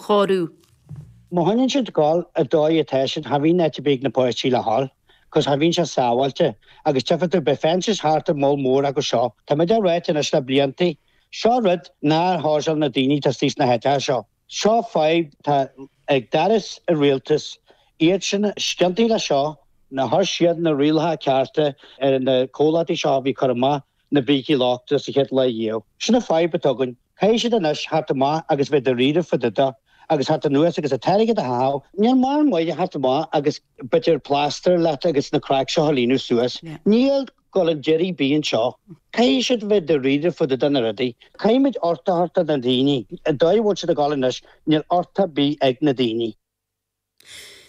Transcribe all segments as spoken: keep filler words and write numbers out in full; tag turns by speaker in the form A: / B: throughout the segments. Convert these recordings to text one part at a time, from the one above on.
A: chóiriú.
B: Má choinníonn siad ag gabháil an dóigh atá siad cha bhíonn áit ar bith ag na páistí le dhul, cos cha bhíonn sé sábháilte agus tchífidh tú beidh fences thart ar moll mór acu seo. Tá muid á ráit anois le bliantaí. Seo rud nár shábháil na daoine atá istigh sna háiteacha seo. Seo fadhb tá ag doras an rialtais iad sin ciontaithe le seo nár chuir siad na rialacha cearta ar na comhlachtaí seo a bhí cur amach na brící lochta sa chéad lá dhiaidh. Sin an fadhb atá againn. Caithfidh siad anois theacht amach agus bheith dáiríre fá dtaobh de agus theacht anuas agus an t-airgead a chaitheamh. Níl mórán maith a theacht amach agus b'fhéidir plaster leat agus na craic seo a líonadh suas. Níl dul an deiridh ar bith anseo. Caithfidh siad bheith dáiríre fá dtaobh de na rudaí. Caithfimid uchtach a thabhairt do na daoine. An dóigh a bhfuil siad ag dul anois, níl uchtach ar bith ag na daoine.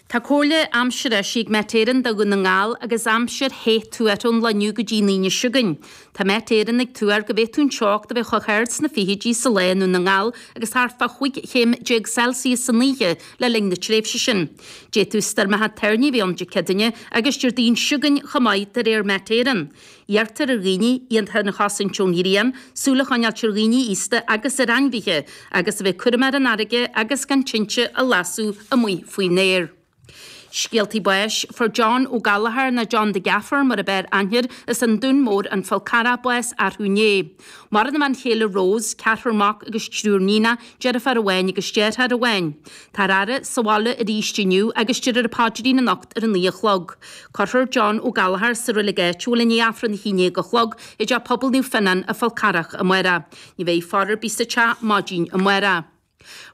A: Tá comhairle aimsire eisithe ag Met Éireann do Dhún na nGall agus aimsir the tuartha ón lá inniu go dtí an Aoine seo chugainn. Tá Met Éireann ag tuar go bhféadfadh an teocht a bheith chomh hard sna fichidí sa lá i nDún na nGall agus thart fá chúig chéim déag Celsius san oíche le linn na tréimhse sin. D'fhéadfadh stoirmeacha toirní a bheith ann Dé Céadaoine agus Déardaoin seo chugainn chomh maith de réir Met Éireann. Iarrtar ar dhaoine iad féin a chosaint ón ghrian, súil a choinneáilt ar dhaoine aosta agus ar ainmhithe, agus a bheith cúramach ar an fharraige agus gan tinte a lasadh amuigh faoin aer. Scéaltaí báis fuair John Ó Gallchóir nó John the Gaffer mar ab fhearr aithne air as an Dún Mór an Fál Carrach bás arú inné. Maireann a bhean chéile Rose, ceathrar mac agus triúr níonach, deirfiúr amháin agus deartháir amháin. Táthar á fhaire sa bhaile arís inniu agus déarfar an paidrín anocht ar a naoi a chlog. Cuirfear John Ó Gallchóir sa reilig áitiúil i ndiaidh Aifreann a haon déag a chlog i dteach pobail Naomh Fionnán an Fál Carrach amárach. Ní bheidh faire ar bith sa teach maidin amárach.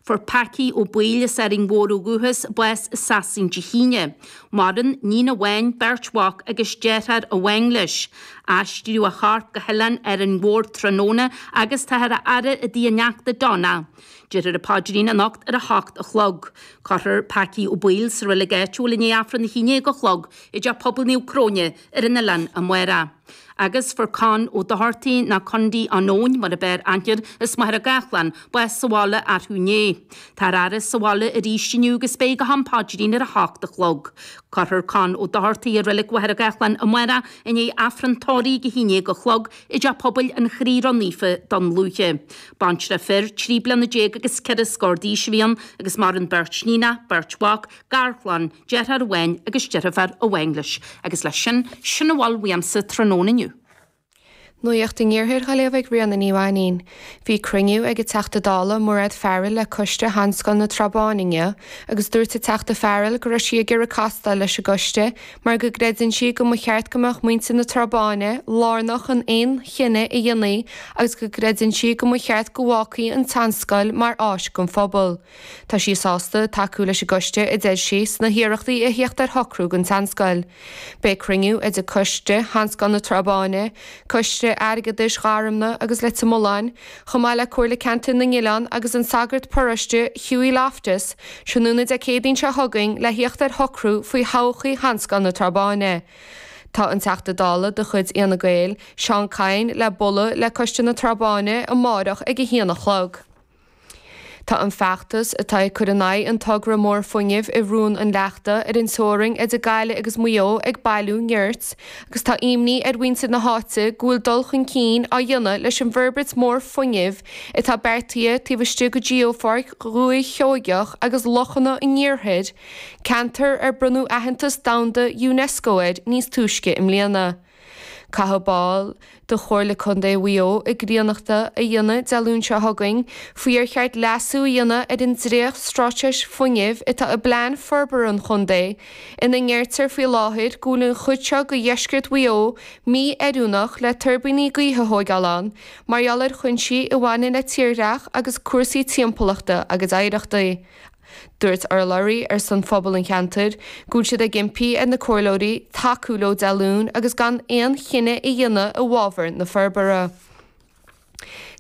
A: Fuair Packy Ó Baoill as Árainn Mhór ó dhúchas bás i Sasain Dé hAoine. Maireann níon amháin beirt mhac agus deartháir amháin leis. Aistríodh a chorp go hoileán Árainn Mhór tráthnóna agus táthar á fhaire i dtigh a neachta Donna. Déarfar an paidrín anocht ar a hocht a chlog. Cuirfear Packy Ó Baoill sa reilig áitiúil i ndiaidh Aifreann a haon déag a chlog i dteach pobail Naomh Cróine ar an oileán amárach. Agus fuair Con Ó Dochartaigh nó Condaí an Eoin mar ab fhearr aithne air as Machaire Gathlán bás sa bhaile arú inné. Táthar á fhaire sa bhaile arís inniu agus beidh go ham paidrín ar a hocht a chlog. Cuirfear Con Ó Dochartaigh i reilig Mhachaire Gathlán amárach i ndiaidh Aifreann tórraimh ag a haon déag a chlog i dteach pobail an Chroí Ró-Naofa Dún Lúiche. Baintreach fir trí bliana déag agus ceithre scór d'aois a bhí ann agus maireann beirt níonach, beirt mhac, garchlann, deartháir amháin agus deirfiúr amháin leis. Agus leis sin sin a bhfuil uaimse tráthnóna inniu.
C: Nuacht an Iarthair á léamh ag Ríona Ní Mhainín. Bhí cruinniú ag an Teachta Dála Mairéad Farrell le coiste Sheanscoil na Trá Báine inniu, agus dúirt an Teachta Farrell go raibh sí ag iarraidh castáil leis an gcoiste mar go gcreideann sí go mba cheart go mbeadh muintir na Trá Báine lárnach in aon chinneadh a dhéanfaí agus go gcreideann sí go mba cheart go bhfágfaí an tseanscoil mar áis don phobal. Tá sí sásta tacú leis an gcoiste a deir sí sna hiarrachtaí a theacht ar shocrú don tseanscoil. Beidh cruinniú idir coiste Sheanscoil na Trá Báine, coiste airgeadais Gharmna agus Leitir Mealláin, chomh maith le Comhairle Ceantar na nOileán agus an sagart paróiste Hughie Loftus, tráthnóna Dé Céadaoin seo chugainn le theacht ar shocrú faoi thodhchaí Sheanscoil na Trá Báine. Tá an Teachta Dála de chuid Fhine Gael, Seán Kyne le bualadh le coiste na Trá Báine amárach ag a haon a chlog. Tá an feachtas atá ag cur in aghaidh an togra mór fuinnimh i Rún an Leachta ar an teorainn idir Gaillimh agus Maigh Eo ag bailiú nirt, agus tá imní ar mhuintir na háite go bhfuil dul chun cinn á dhéanamh leis an bhforbairt mór fuinnimh atá beartaithe taobh istigh de Gheopháirc Dhúiche Sheoigeach agus Lochanna an Iarthair, ceantar ar bronnadh aitheantas domhanda UNESCO air níos túisce i mbliana. Caithfidh baill de Chomhairle Contae Mhaigh Eo a gcríonnachta a dhéanamh Dé Luain seo chugainn faoi ar cheart leasú a dhéanamh ar an dréacht-straitéis fuinnimh atá i bplean forbartha an chontae, ina ndeirtear faoi láthair go bhfuil an chuid seo de dheisceart Mhaigh Eo mí-oiriúnach le tuirbíní gaoithe a thógáil ann, mar gheall ar chúinsí a bhaineann le tírdhreach agus cúrsaí timpeallachta agus oidhreachta. Dúirt urlabhraí ar son phobal an cheantair go bhfuil siad ag impí ar na comhairleoirí tacú leo Dé Luain agus gan aon chinneadh a dhéanamh i bhfabhar na forbartha.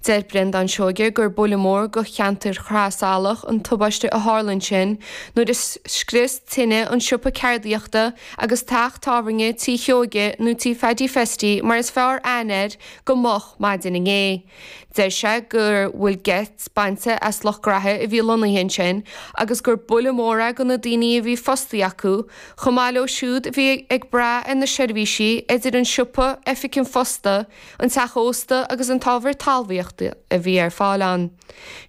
C: Deir Breandán Seoige gur buille mór do cheantar Chraoibh an tubaiste a tharla ansin nuair a scrios tine an siopa ceardaíochta agus teach tábhairne Tí Sheoige nó Tí Phaddy Festy mar is fearr aithne air go moch maidin inné. Deir sé go bhfuil geit bainte as lucht graithe a bhí lonnaithe ansin agus gur buille mór é do na daoine a bhí fostaithe acu, chomh maith leo siúd a bhí ag brath ar na seirbhísí idir an siopa, oifig an phosta, an teach ósta agus an t-ábhar talmhaíochta a bhí ar fáil ann.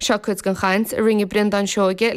C: Seo cuid den chaint a rinne Breandán Seoige le